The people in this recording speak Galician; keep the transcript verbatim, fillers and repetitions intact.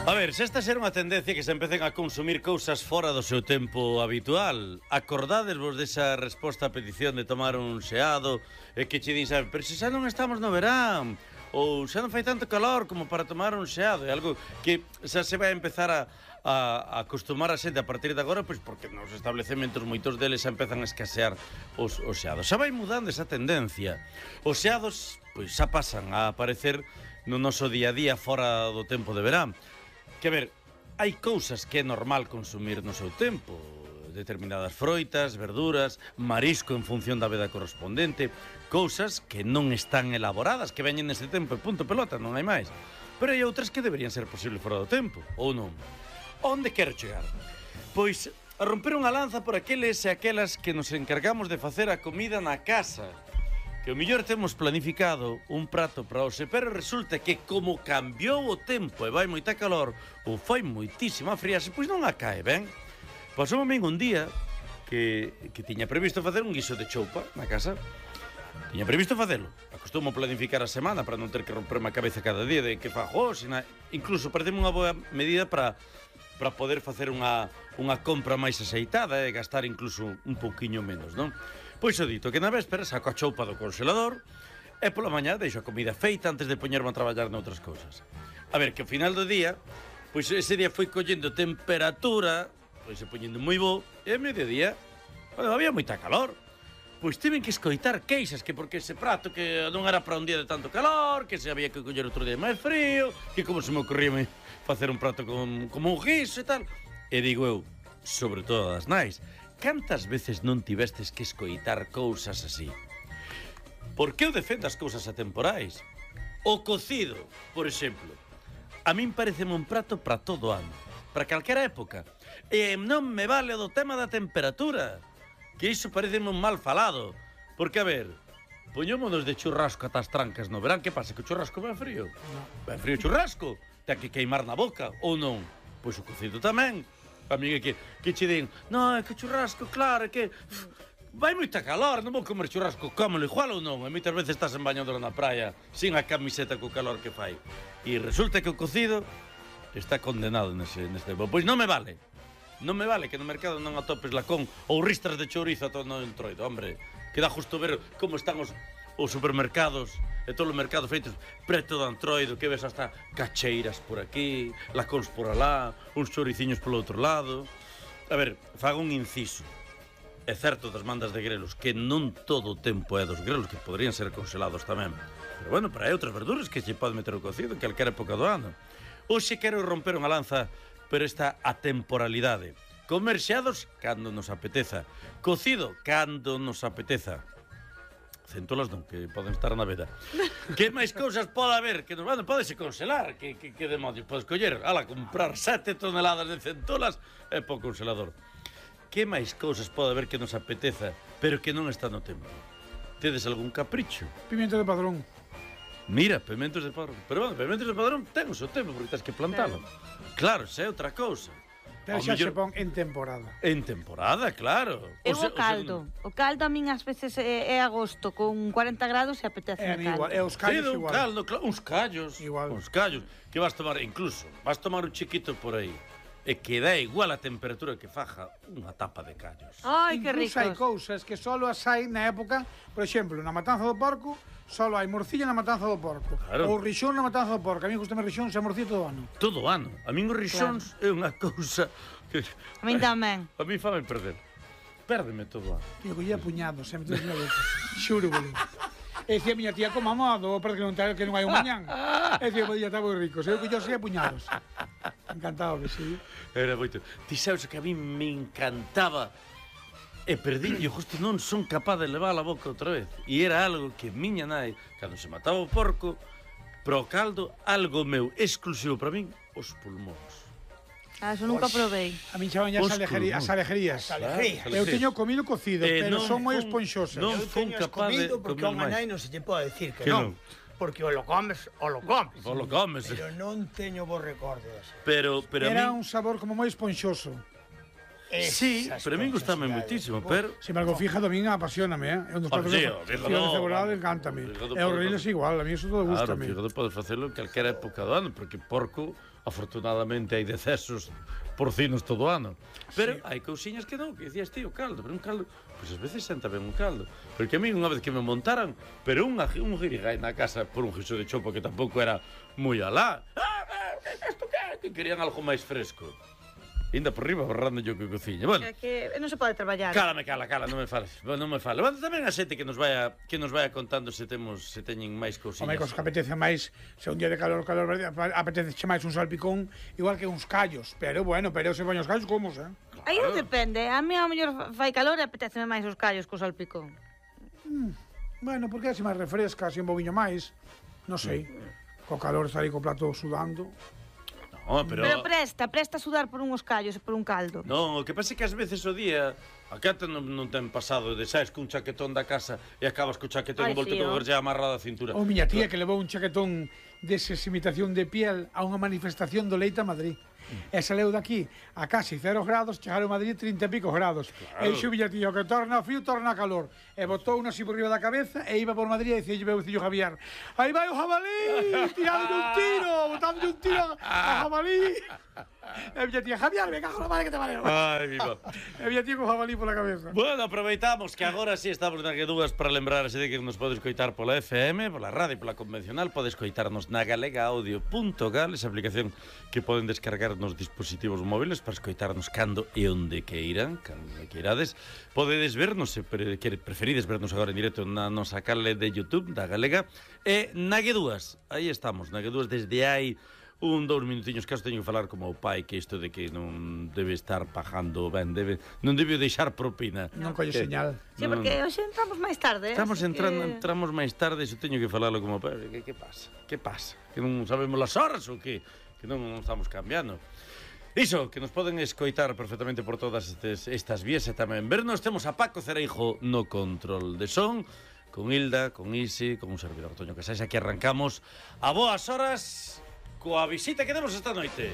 A ver, se esta ser unha tendencia que se empecen a consumir cousas fora do seu tempo habitual, acordades vos desa resposta a petición de tomar un xeado e que che din, sabe, pero se xa non estamos no verán, ou xa non fai tanto calor como para tomar un xeado, é algo que xa se vai a empezar a, a, a acostumar a xente a partir de agora, pois porque nos establecementos moitos deles xa empezan a escasear os, os xeados. Xa vai mudando esa tendencia. Os xeados, pois xa pasan a aparecer no noso día a día fora do tempo de verán. Que, a ver, hai cousas que é normal consumir no seu tempo, determinadas froitas, verduras, marisco en función da veda correspondente, cousas que non están elaboradas, que veñen nese tempo e punto pelota, non hai máis. Pero hai outras que deberían ser posible fora do tempo, ou non? Onde quero chegar? Pois a romper unha lanza por aqueles e aquelas que nos encargamos de facer a comida na casa, que o mellor temos planificado un prato para hoxe, pero resulta que como cambiou o tempo e vai moita calor ou fai moitísima friase, pois non a cae, ben? Pasou a min un día que, que tiña previsto facer un guiso de choupa na casa. Tiña previsto facelo. Acostumo planificar a semana para non ter que romperme a cabeza cada día de que fago, sina... incluso pareceme unha boa medida para para poder facer unha, unha compra máis aceitada e gastar incluso un pouquiño menos, non? Pois o dito, que na véspera saco a choupa do congelador e pola mañá deixo a comida feita antes de poñerme a traballar noutras cousas. A ver, que ao final do día, pois ese día foi collendo temperatura, pois se poñendo moi bo, e a mediodía, bueno, había moita calor. Pois tiven que escoitar queixas, que porque ese prato que non era para un día de tanto calor, que se había que coller outro día máis frío, que como se me ocorría facer un prato con, como un guiso e tal. E digo eu, sobre todo as nais, cantas veces non tivestes que escoitar cousas así? Por que eu defendo as cousas atemporais? O cocido, por exemplo. A min pareceme un prato para todo ano, para calquera época. E non me vale do tema da temperatura, que iso pareceme un mal falado. Porque, a ver, poñémonos de churrasco ata as trancas no verán, que pasa, que o churrasco vai frío? No. Vai frío o churrasco? Ten que queimar na boca, ou non? Pois o cocido tamén. A mí é que, que che din, non, é que o churrasco, claro, é que uf, vai moita calor, non vou comer churrasco, cómelo igual ou non? E moitas veces estás en bañador na praia, sin a camiseta co calor que fai. E resulta que o cocido está condenado nese, neste tempo. Pois non me vale. Non me vale que no mercado non atopes lacón ou ristras de chourizo a todo no entroido, hombre. Que dá justo ver como están os, os supermercados e todos os mercados feitos preto do antroido, que ves hasta cacheiras por aquí, lacóns por alá, uns chouriciños polo outro lado. A ver, fago un inciso. É certo das mandas de grelos que non todo o tempo é dos grelos, que poderían ser congelados tamén. Pero bueno, para hai outras verduras que se pode meter o cocido en calquera época do ano. Hoxe quero romper unha lanza pero esta atemporalidade. Comer xeados cando nos apeteza. Cocido cando nos apeteza. Centolas non, que poden estar na veda. Que máis cousas pode haber? Que nos van, podese congelar. Que, que, que demonios podes coller? Ala, comprar sete toneladas de centolas é po congelador. Que máis cousas pode haber que nos apeteza, pero que non está no tempo? Tedes algún capricho? Pimiento de padrón. Mira, pimentos de padrón. Pero bueno, pimentos de padrón ten o seu tempo, porque tens que plantalo. Claro, xa é outra cousa. Pero xa se pon en temporada. En temporada, claro. Eu o caldo. O caldo a min ás veces é, é agosto con cuarenta grados e apetece é, caldo. Igual, é os callos sí, igual. Un caldo, claro, uns callos. Igual. Uns callos. Que vas tomar, incluso, vas tomar un chiquito por aí. E que dá igual a temperatura que faja unha tapa de callos. Ai, que ricos. Incluso hai cousas que solo as hai na época, por exemplo, na matanza do porco, solo hai morcilla na matanza do porco. Claro. Ou rixón na matanza do porco. A mí gustame rixón e morcilla todo o ano. Todo o ano. A min os rixóns claro. É unha cousa que... A min tamén. A mí fame perder. Pérdeme todo o ano. Tío, collía puñados, sempre tres mil veces. Xuro, boludo. E dicía a miña tía, como amado, parece que non, que non hai un mañán. E dicía, podía estar moi rico. Se eu que yo sei puñados. Encantado que sí. Era moito. Ti sabes que a mí me encantaba e perdín, eu justo non son capaz de levar a boca outra vez. E era algo que miña nai, cando se mataba o porco, pro caldo, algo meu exclusivo para min, os pulmóns. Ah, eso nunca probei. A min chaman as alejerías. As alejerías. Eu teño comido cocido, eh, pero son moi esponxosas. Non son capaz de comido porque a unha nai non se te pode decir que, que non. Porque o lo comes, o lo comes. O lo comes. Pero non teño vos recordos. Pero, pero Era a mí... un sabor como moi esponxoso. Sí, pero a mí gustame moitísimo, pero... Se me algo fija, tamén apasioname, eh? É un dos Oh, platos sí, que o fa- fíjado, fíjado cebolado, vamos. encántame. Fíjado E o por- riles igual, a mí eso todo Claro, gustame. fíjate, podes facelo en calquera época do ano, porque porco, afortunadamente, hai decesos porcinos todo o ano. Pero Sí. hai cousiñas que non, que dicías ti, o caldo, pero un caldo, pois ás veces senta ben un caldo. Porque a mí unha vez que me montaran, pero unha, un girigay na casa por un guiso de chopo que tampouco era moi alá. Ah, ah, isto que? Que querían algo máis fresco. Inda por riba, borrando yo que cociña. Bueno, É que non se pode traballar. cálame, cala, cala, non me fales, non me fales. Bueno, tamén a xente que nos vaya que nos vaya contando se temos se teñen máis cousiñas. Home, cos que apetece máis, se un día de calor, calor, apetece che máis un salpicón, igual que uns callos. Pero, bueno, pero se van os callos, como, eh? Aí non depende. A mí ao mellor fai calor e apeteceme máis os callos co salpicón. Bueno, porque así máis refresca, así un bobiño máis. Non sei. Co calor estar aí co plato sudando. No, pero... Pero presta, presta a sudar por uns callos e por un caldo. Non, o que pasa é que ás veces o día a cata non, non ten pasado de saes cun chaquetón da casa e acabas co chaquetón Ai, envolto sí, con oh. gorlla amarrada á cintura. Ou miña tía que levou un chaquetón deses imitación de piel a unha manifestación do Leite a Madrid. E saleu daqui a casi cero grados, chegaron a Madrid trinta e pico grados. Claro. E dixo miña tía, o que torna frío, torna calor. E botou unha así por riba da cabeza e iba por Madrid e dicía meu fillo Javier, aí vai o jabalí, tirando un tiro, botando un tiro a jabalí. E miña tía, Javier, me cago na madre que te valeu. Ai, viva. E miña tía con jabalí pola cabeza. Bueno, aproveitamos que agora sí estamos na Guedúas para lembrarse de que nos podes coitar pola F M, pola radio, pola convencional, podes coitarnos na galega audio punto gal, esa aplicación que poden descargar nos dispositivos móviles para escoitarnos cando e onde queiran, cando queirades. Podedes vernos, se pre, que preferides vernos agora en directo na nosa canle de YouTube da Galega e na Guedúas. Aí estamos, na Guedúas desde hai un, dous minutiños, que teño que falar como o pai, que isto de que non debe estar pagando ben, debe, non debe deixar propina. Non colle Que- señal. Sí, porque hoxe entramos máis tarde. eh, Estamos así entrando, que... entramos máis tarde, iso teño que falalo como pai. Que, que pasa? Que pasa? Que non sabemos as horas ou que? Que non, non estamos cambiando. Iso, que nos poden escoitar perfectamente por todas estes, estas vías e tamén vernos. Temos a Paco Cereijo no control de son, con Hilda, con Isi, con un servidor Toño Casais. Aquí arrancamos a boas horas coa visita que temos esta noite.